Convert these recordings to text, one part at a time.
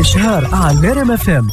إشهار على RMF FM.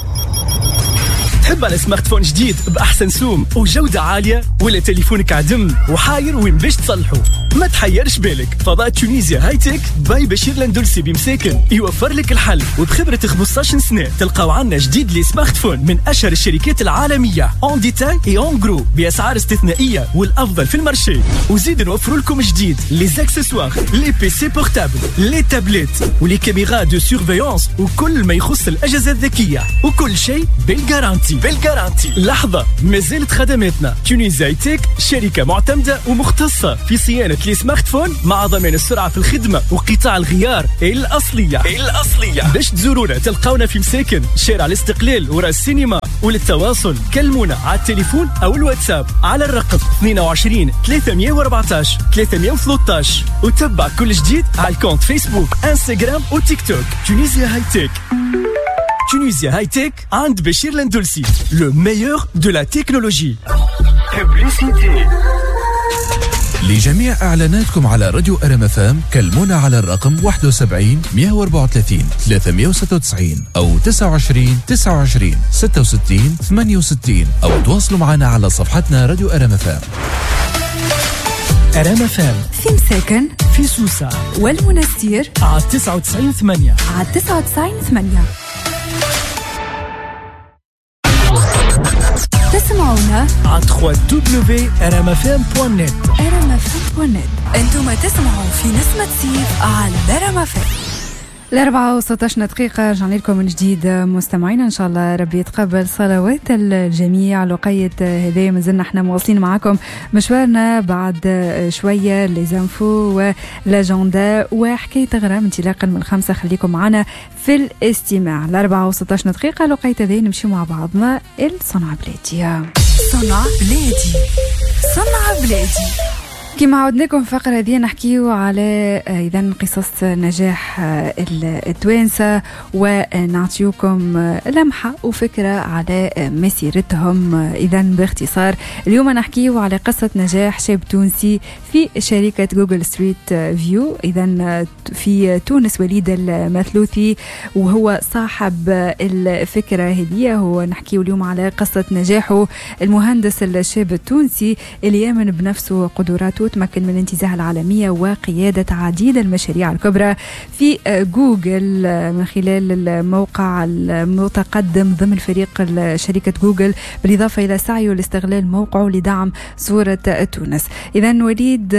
تحب على smartphone جديد بأحسن سوم وجودة عالية، ولا تليفونك عدم وحاير وين باش تصلحه؟ ما تحيرش بالك، فضاء Tunisia High-Tech by بشير لندلسي بمساكن يوفر لك الحل، وبخبرة 15 سنة تلقاو عنا جديد les smartphones من أشهر الشركات العالمية en détail et en gros بأسعار استثنائية والأفضل في ال marché. وزيد نوفر لكم جديد les accessoires، les PC portables، les tablettes و les caméras de surveillance وكل ما يخص الأجهزة الذكية، وكل شيء بال garantie. بال garantie. لحظة، ما زالت خدماتنا Tunisia High-Tech شركة معتمدة ومختصة في صيانة les smartphones مع ضمان السرعة في الخدمة وقطاع الغيار الأصلية. الأصلية. باش تزورونا تلقاونا في مساكن شارع الاستقلال وراء السينما، وللتواصل كلمونا على التليفون أو الواتساب على الرقم 22 314 313، وتبع كل جديد على ال compte فيسبوك، انستغرام وتيك توك Tunisia High-Tech. Tunisia High-Tech عند بشير لندلسي، le meilleur de la technologie. لجميع اعلاناتكم على راديو RMF FM كلمونا على الرقم 71 134 396 او 29 29 66 68، او تواصلوا معنا على صفحتنا راديو RMF FM. RMF FM في مساكن، في سوسة والمنستير على 99.8، على 99.8. تسمعونا على 3w.rmfm.net. rmfm.net. انتم تسمعوا في نسمة صيف على RMF. 4:16 رجعنا لكم من جديد مستمعينا، إن شاء الله ربي يتقبل صلوات الجميع. لقيت هذايا مازلنا احنا مواصلين معاكم مشوارنا بعد شوية les infos و l'agenda وحكاية غرام انطلاقا من 5. خليكم معنا في الاستماع. 4:16 لقيت هذايا نمشي مع بعضنا الصنع بلادي. صنع بلادي، صنع بلادي. كما عودناكم في الفقرة هذه نحكيو على إذا قصص نجاح التوانسة ونعطيوكم لمحة وفكرة على مسيرتهم. إذا باختصار اليوم نحكيو على قصة نجاح شاب تونسي في شركة Google Street View إذا في تونس، وليد المثلوثي، وهو صاحب الفكرة هذه. هو نحكيو اليوم على قصة نجاحه، المهندس الشاب التونسي اللي يامن بنفسه وقدراته، تمكن من انتزاع العالمية وقيادة عديد المشاريع الكبرى في جوجل من خلال الموقع المتقدم ضمن فريق شركة جوجل، بالإضافة إلى سعيه لاستغلال موقعه لدعم صورة تونس. إذا وليد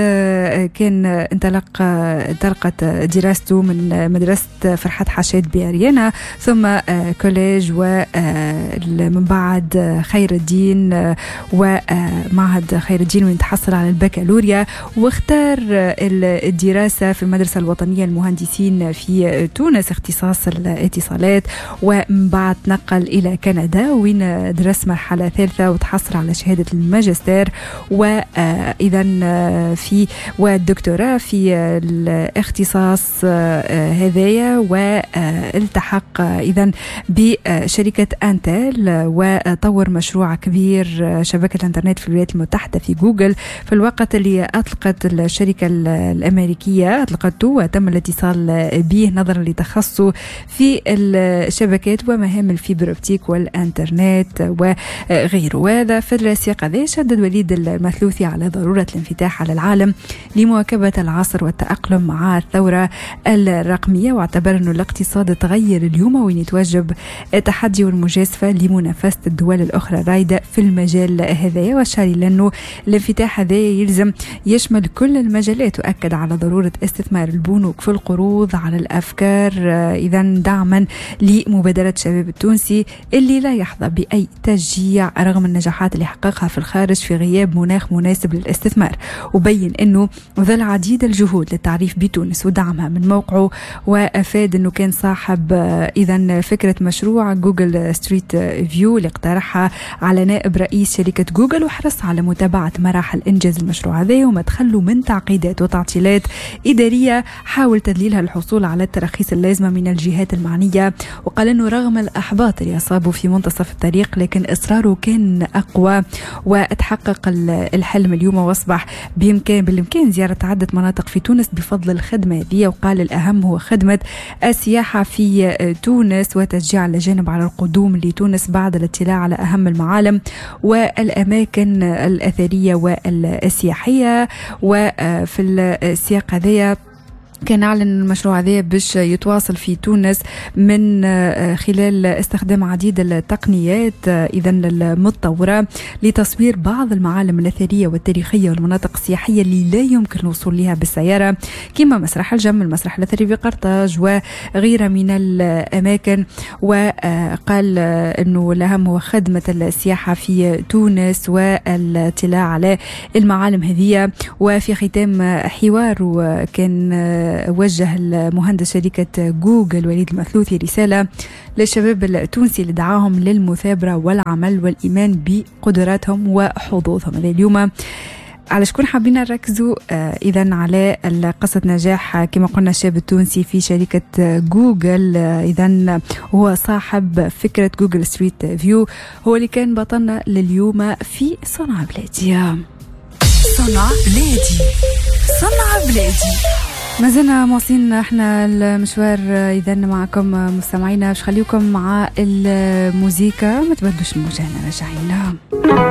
كان انطلقت دراسته من مدرسة فرحات حشاد بأريانا، ثم collège، ومن بعد خير الدين ومعهد خير الدين وين تحصل على البكالوريا، واختار الدراسة في المدرسة الوطنية للمهندسين في تونس اختصاص الاتصالات، ومن بعد نقل إلى كندا وين درس مرحلة ثالثة وتحصل على شهادة الماجستير وإذا في والدكتوراه في الاختصاص هذايا، والتحق إذا بشركة أنتل وطور مشروع كبير شبكة الإنترنت في الولايات المتحدة في جوجل في الوقت اللي أطلقت الشركة الأمريكية أطلقته وتم الاتصال به نظرا لتخصصه في الشبكات ومهام ال fibre optique والإنترنت وغيره. وهذا في السياق هذا شدد وليد المثلوثي على ضرورة الانفتاح على العالم لمواكبة العصر والتأقلم مع الثورة الرقمية، واعتبر أنه الاقتصاد تغير اليوم وين يتوجب التحدي والمجازفة لمنافسة الدول الأخرى الرائدة في المجال هذا، وأشار إلى أنه الانفتاح هذا يلزم يشمل كل المجالات، وأكد على ضرورة استثمار البنوك في القروض على الأفكار إذا دعما لمبادرة الشباب التونسي اللي لا يحظى بأي تشجيع رغم النجاحات اللي حققها في الخارج في غياب مناخ مناسب للاستثمار. وبين أنه بذل عديد الجهود للتعريف بتونس ودعمها من موقعه، وأفاد أنه كان صاحب إذا فكرة مشروع Google Street View اللي اقترحها على نائب رئيس شركة جوجل، وحرص على متابعة مراحل إنجاز المشروع هذا. هذا وما تخلوا من تعقيدات وتعطيلات إدارية حاول تذليلها الحصول على التراخيص اللازمة من الجهات المعنية. وقال أنه رغم الأحباط اللي أصابه في منتصف الطريق لكن إصراره كان أقوى وتحقق الحلم اليوم، وأصبح بالإمكان زيارة عدة مناطق في تونس بفضل الخدمة هذه. وقال الأهم هو خدمة السياحة في تونس وتشجيع الأجانب على القدوم لتونس بعد الاطلاع على أهم المعالم والأماكن الأثرية والسياحية. وفي السياق هذا كان أعلن المشروع هذا باش يتواصل في تونس من خلال استخدام عديد التقنيات إذا المتطورة لتصوير بعض المعالم الأثرية والتاريخية والمناطق السياحية اللي لا يمكن الوصول لها بالسيارة، كما مسرح الجم، المسرح الأثري بقرطاج وغيرها من الأماكن. وقال أنه الأهم هو خدمة السياحة في تونس والاطلاع على المعالم هذه. وفي ختام حوار كان وجه المهندس شركة جوجل وليد المثلوثي رسالة للشباب التونسي اللي دعاهم للمثابرة والعمل والإيمان بقدراتهم وحظوظهم. هذا اليوم على شكون حابين نركزوا؟ إذا على قصة نجاح كما قلنا الشاب التونسي في شركة جوجل، إذا هو صاحب فكرة Google Street View، هو اللي كان بطلنا لليوم في صنع بلادي. صنع بلادي، صنع بلادي. ما زلنا مواصلين احنا المشوار اذا معكم مستمعينا، باش خليكم مع الموزيكا، ما تبدلوش الموجة، راجعين.